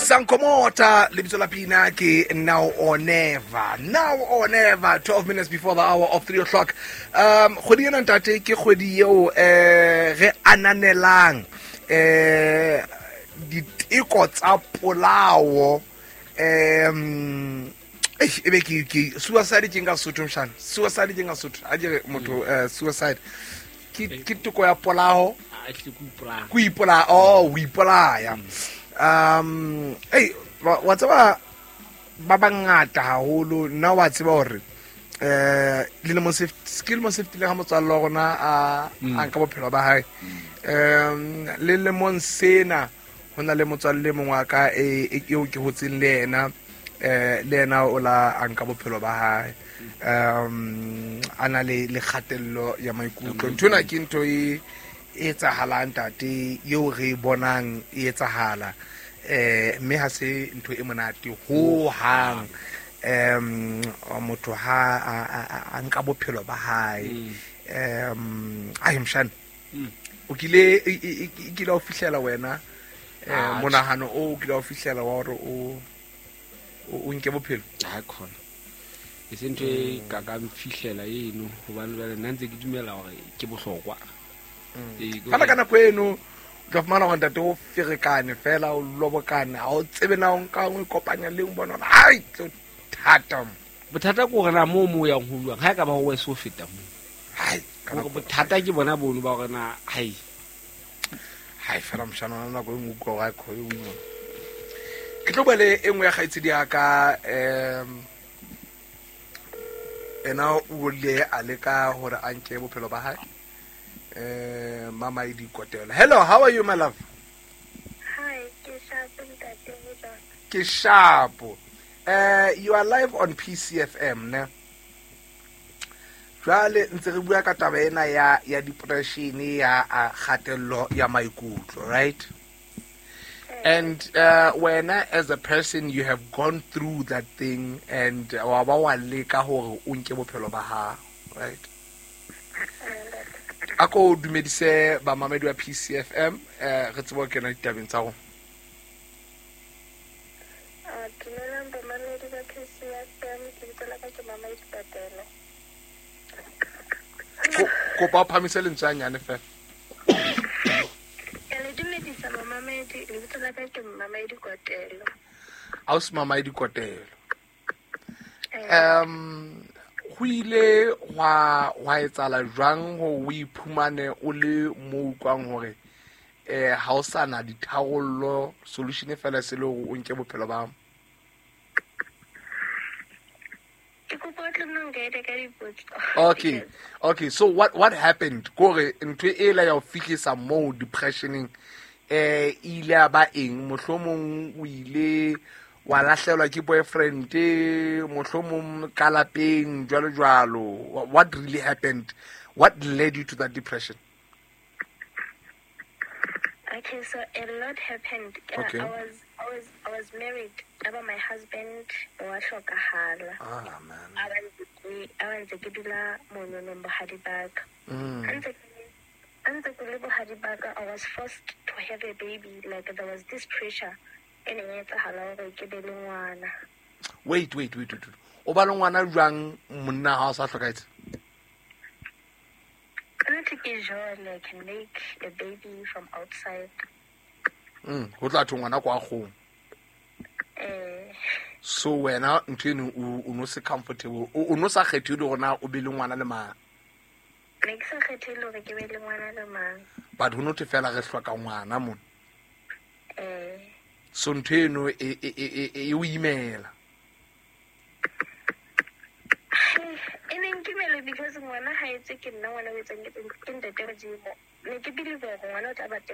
Sankomota, lebitso la pina ke Now or Never. Now or Never, 12 minutes before the hour of 3 o'clock. Kgwedi ena ntate ke kgwedi eo re ananelang diteko tsa polao. Ebe ke suicide ke nka Sotho mshana. Suicide ke nka Sotho. A ke re motho suicide ke teko ya polao. Ko ipolaya. Oh, o ipolaya. Ei, wa tseba ba bangata haholo nna wa tseba hore lelemo se ke lemo se fetileng ha motswalle wa rona a nka bophelo ba hae. Le lemong sena ho na le motswalle mongwe wa ka eo ke hotseng le yena, le yena o la a nka bophelo ba hae. A na le kgatello ya maikutlo. Ntho ena ke ntho e etsahalang ntate, eo re bonang e etsahala. Mme ha se ntho e monate ho hang. Motho ha a nka bophelo ba hae. Ai mshana. O kile e kile o fihlela wena monahano o kile o fihlela wa hore o nke bophelo? Ha khona. E se ntho e ka ka mfihlela eno hobane jwale nna ntse ke dumela hore ke bohlokwa. Fela ka nako eno o tla fumana hore ntate o ferekane fela, o lobokane, ha o tsebe na o nka o ikopanya le eng, bona hore ai tlo thata. Bothata ke hore na moo yang ho buang ha e ka ba ho wese ho feta moo. Hai, ka nako. Bothata ke bona bono ba hore na hai. Hai fela mshana wa nako e nngwe utlwa hore ha e kgone ho ima. Ke tlo bua le e nngwe ya kgaitsedi ya ka, ena o ile a leka hore a nke bophelo ba hae. Mama e dikotelo. Hello, how are you, my love? Hi, ke sharp ntate Bojang. Ke sharp. You are live on PCFM, ne? Jwale ntse re bua ka taba ena ya depression, ya kgatello ya maikutlo, right? And wena as a person you have gone through that thing and wa ba wa leka hore o nke bophelo ba hao, right? A ko dumedise bamamedi ba PCFM, re tsebe ho kena ditabeng tsa rona. Dumelang bamamedi ba PCFM, lebitso la ka ke Mama Dikotelo. Kopa o phamise lentswe hanyane fela. Ke le dumedisa bamamedi, lebitso la ka ke Mama Dikotelo. Ausi Mama Dikotelo. Ho ile hwa etsahala jwang hore o iphumane o le mo utlwang hore ha o sa na ditharollo, solution fela se le hore o nke bophelo ba hao? Ke kopa o tle nna nka ka dipotso. Okay. Okay, so what happened? Kore ntho e la ya ho fihlisa mo depressioning, e ile ya ba eng? Mohlomong o ile wa lahlelwa ke boyfriend, mohlomong ka lapeng, jwalo jwalo. What really happened? What led you to that depression? Okay, so a lot happened. Okay. I was married. About my husband wa hlokahala. Ah, man. A ba ntse ke dula mono bohadi ba ka. A ntse ke le bohadi ba ka, I was forced to have a baby. Like there was this pressure e neng e etsahala hore ke be le ngwana. Wait, wait, wait, wait, wait. O ba le ngwana jwang monna ha o sa hlokahetse? Nna ke jwale, I can make a baby from outside. Ho tla thwe ngwana kwa kgomo. So wena ntho eno o no se comfortable, o no sa kgethile hore na o be le ngwana le mang? Ne ke sa kgethile hore ke be le ngwana le mang. But ho no thwe fela re hloka ngwana mona. So ntho eno e o imela. E ne nkimela because ngwana ha etse ke nna ngwana o etsang ke ntate Modimo. Ne ke believe hore ngwana o tla ba teng.